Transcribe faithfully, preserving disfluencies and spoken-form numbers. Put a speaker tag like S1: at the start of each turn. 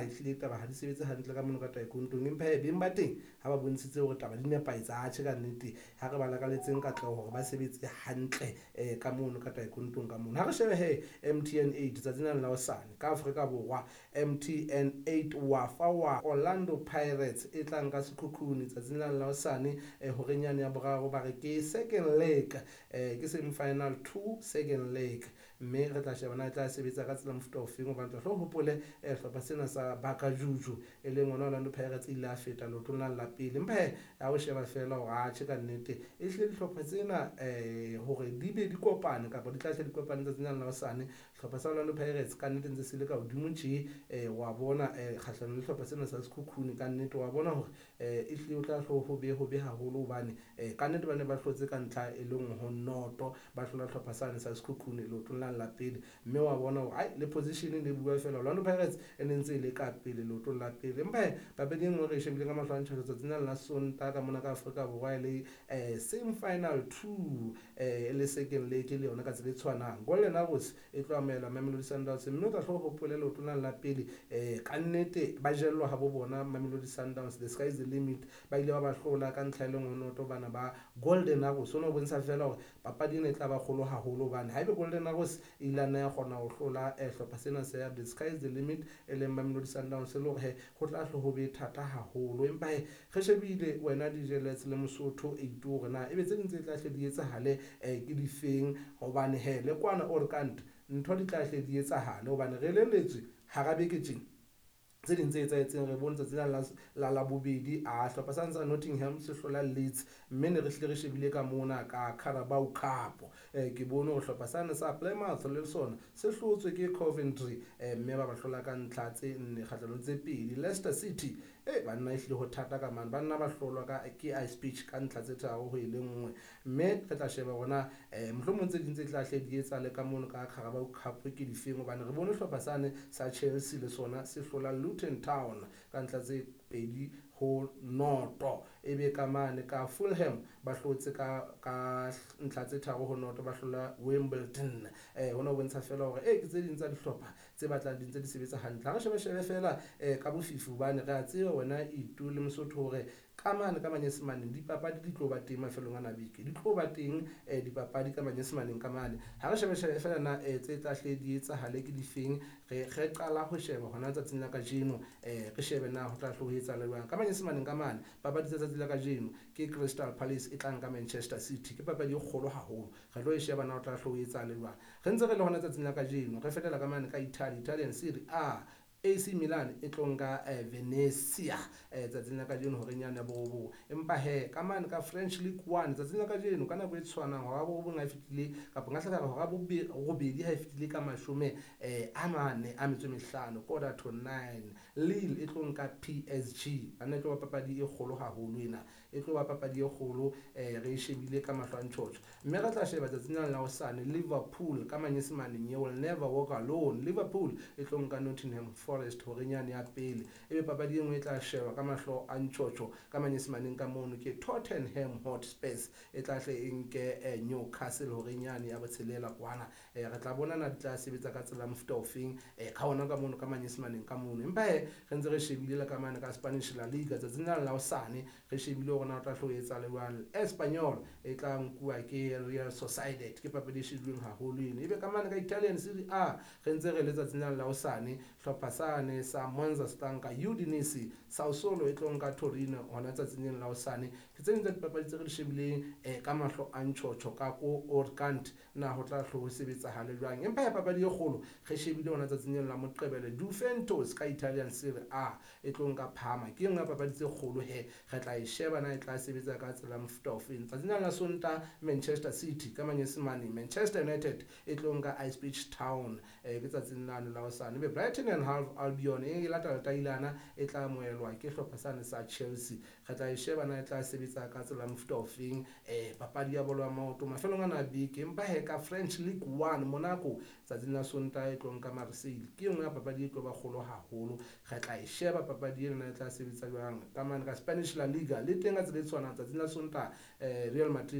S1: ehlile taba ha di sebetse hantle ka mono ka taekwondo. Empa hee beng ba teng ha ba bontshitse hore taba di nepahetse, atjhe ka nnete ha re ba lakaletseng katleho hore ba sebetse hantle um ka mono ka taekwondo ka mono. Ha re shebe he M T N eight tsatsing lena la hosane ka Afrika Borwa, M T N eight wa fa wa Orlando Pirates e tlang ka Sekhukhune tsatsing lena la hosane horeng yane ya boraro, ba re ke second leg, um ke semi final two second leg, mme re tla sheba na e tla sebetsa ka tsela mofuta ofeng, hobane tla hlo hopole hlopha sena sa Bakajuju e leng ona Orlando Pirates ile a feta leotong la la pele. Empa he ha o sheba fela hore atjhe ka nnete e hlile dihlopha tsena um hore di be di kopane kapa di tla hle di kopane tsatsing lena la hosane, hlopha sa Orlando Pirates ka nnete ntse se le ka hodimo tje, um wa bona um kgahlanong le hlopha sena sa Sekhukhune, ka nnete wa bona hore um e hlile o tla hlo ho be ho be haholo, hobane um ka nnete ba ne ba hlotse ka ntlha e le nngwe ho noto, ba hlola hlopha sane sa Sekhukhune leotong la la pele, mme wa bona hore ai le position ne bua fela Orlando Pirates e ne ntse e le ka pele leotong la pele. Empa he papadi e nngwe re e shebileng ka mahlo a ntjha tsatsing lena la Sontaha ka mona ka Afrika Borwa e le um semi final two, um le second leg le yona ka tsela e tshwanang, Golden Arrows e tlo amohela Mamelodi Sundowns, mme o tla hlo hopole leotong lane la pele um ka nnete ba jellwa ha bo bona Mamelodi Sundowns, the sky is the limit, ba ile ba ba hlola ka ntlha e le nngwe noto bana ba Golden Arrows. Hona ho bontsha fela hore papadi ena e tla ba kgolo haholo, hobane haebe Golden Arrows e ile ya kgona ho hlola hlopha sena sa the sky is the limit e leng Mamelodi Sundowns, e le hore he ho tla hlo ho be thata haholo. Empa he re shebile wena D J Lets le Mosotho eight hore na ebe tse ding tse tla hle di etsahale um ke difeng, hobane he le kwana Orkant ntho di tla hle di etsahale, hobane re elelletswe hara beke tjena tse ding tse etsahetseng. Re bone tsatsi la la Labobedi a hlopha sa sa Nottingham se hlola Leeds, mme ne re hlile re shebile ka mona ka Carabao Cup, eh ke bone hore hlopha sane sa Plymouth le sona se hlotswe ke Coventry, eh mme ba ba hlola ka ntlha tse nne kgahlanong tse pedi. Leicester City eh banna e hlile ho thata ka mane, banna ba hlolwa ka ke Ipswich ka ntlha tse tharo ho e le nngwe, mme re tla sheba hore eh mohlomong tse ding tse tla hle di etsahale ka mono ka Carabao Cup ke difeng, hobane re bone hlopha sane sa Chelsea le sona se hlola Luton Town ka ntlha tse pedi ho noto, ebe ka mane ka Fulham ba hlotse ka ka ntlha tse tharo ho noto, ba hlola Wimbledon. Eh hona ho bontsha fela hore eh ke tse ding tsa dihlopha tse batlang di ntse di sebetsa hantle. Ha re shebe shebe fela eh ka bofifi, hobane re a tseba wena Itu le Mosotho hore ka mane ka manyesemaneng dipapadi di tlo ba teng mafelong ana beke, di tlo ba teng eh dipapadi ka manyesemaneng ka mane. Ha re shebe shebe fela na eh tse tla hle di etsahale ke difeng, re re qala ho sheba hona tsatsing la kajeno, eh re shebe na ho tla hlo ho etsahala jwang ka manyesemaneng ka mane. Papadi tsa tsatsi la kajeno ke Crystal Palace e tlang ka Manchester City, ke papadi e kgolo haholo, re tlo e sheba na ho tla hlo ho etsahala jwang. Re ntse re le hona tsatsing la kajeno re fetela ka mane ka Italy, Italian Serie A, A C Milan e tlo nka Venezia tsatsing la kajeno horeng yane ya borobong. Empa he ka mane ka French League One tsatsing la kajeno ka nako e tshwanang hora borobong ha e fetile, kapa nka hla ka re hora robedi ha e fetile ka mashome a mane a metso e mehlano, quarter to nine, Lille e tlo nka P S G. Banna e tlo ba papadi e kgolo haholo ena, e tlo ba papadi e kgolo, eh re e shebile ka mahlo a ntjhotjho. Mme re tla sheba tsatsing lena la hosane Liverpool ka manyesemaneng, you will never walk alone. Liverpool e tlo nka Nottingham Forest horeng yane ya pele, ebe papadi e nngwe e tla sheba ka mahlo a ntjhotjho ka manyesemaneng ka mono ke Tottenham Hotspur e tla hle e nke Newcastle horeng yane ya botshelela kwana. Eh re tla bona na di tla sebetsa ka tsela mofuta ofeng eh ka hona ka mono ka manyesemaneng ka mono. Empa he re ntse re shebile le ka mane ka Spanish La Liga tsatsing lena la hosane, re shebile hore na o tla hlo etsa le jwang. Espanyol e tla nkuwa ke Real Sociedad, ke papadi e shebilweng haholo eno. Ebe ka mane ka Italian Serie A re ntse re le tsatsing lena la hosane, hlopha sane sa Monza se tla nka Udinese, Sassuolo e tlo nka Torino hona tsatsing lena la hosane. Ke tse ding tsa dipapadi tse re di shebileng eh ka mahlo a ntjhotjho ka ko Orkant na ho tla hlo ho sebetsahale jwang. Empa ya papadi e kgolo re shebile hona tsatsing lena la Moqebelo, Juventus ka Italian Serie A e tlo nka Parma, ke nngwe ya papadi tse kgolo he re tla e sheba na e tla sebetsa ka tsela mofuta ofeng. Tsatsing lena la Sontaha Manchester City ka manyesemane, Manchester United e tlo nka Ipswich Town eh ke tsatsing lano la hosane. Ebe Brighton and Hove Albion e latela tailana e tla amohelwa ke hlopha sane sa Chelsea, re tla e sheba na e tla sebetsa ka tsela mofuta ofeng eh papadi ya bolo ya maoto mafelong ana a beke. Empa he ka French League One Monaco tsatsing la Sontaha e tlo nka Marseille, ke nngwe ya papadi e tlo ba kgolo haholo, re tla e sheba papadi ena e tla sebetsa jwang. Ka mane ka Spanish La Liga le teng ka tsela e tshwanang tsatsing la Sontaha eh Real Madrid